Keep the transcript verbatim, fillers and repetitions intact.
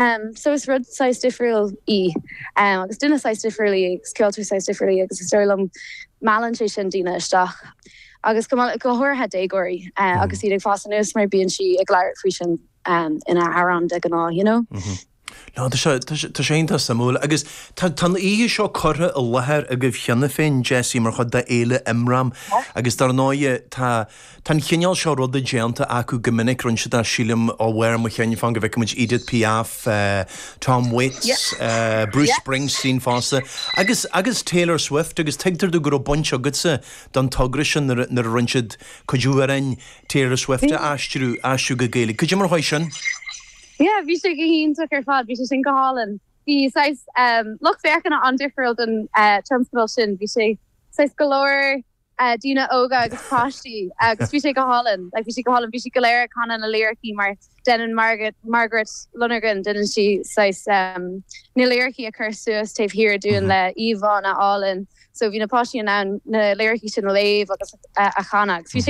Um, so is rud saghas difriúil í um, agus duine saghas difriúil í agus ceoltóir saghas difriúil í agus is dóigh liom meallann sé sin daoine isteach. Agus go go háirithe déagóirí uh, mm. agus iad ag fás anuas mar bíonn sí ag labhairt faoi sin um, ina hamhráin de ghnáth, you know? Mm -hmm. No tá sé iontach suimiúil agus tá an oíche seo curtha i láthair agaibh cheana féin Jessie mar chuid d'Fhéile Imram agus dar ndóigh tá tá an chineál seo ruda déanta acu go minic rinne siad sílim ó bharr mo chinn fan go bhfeicfimid Edith Piaf, uh, Tom Waits, yeah. uh, Bruce yeah. Springsteen fosta agus agus Taylor Swift agus tuigtear domh go raibh baint agatsa don togra sin nuair a rinne siad cuid amhrán Taylor Swift a aistriú aistriú go Gaeilge. Cad é mar chuir sin? Yeah, bhí sé go hiontach ar fad, bhí sé sin go hálainn. Bhí um, lucht féachana an-difriúil den uh, tionscadal sin, bhí sé saghas go leor uh, daoine óga agus páistí agus bhí sé go hálainn, like, bhí sé go hálainn, bhí sé go léir ag canadh na liricí mar déanann Margaret Margaret Lonergan déanann sí saghas um, na liricí a chur suas taobh thiar dúinn le íomhánna álainn, so bhí na páistí an na liricí sin a léamh agus uh, a chanadh. Bhí sé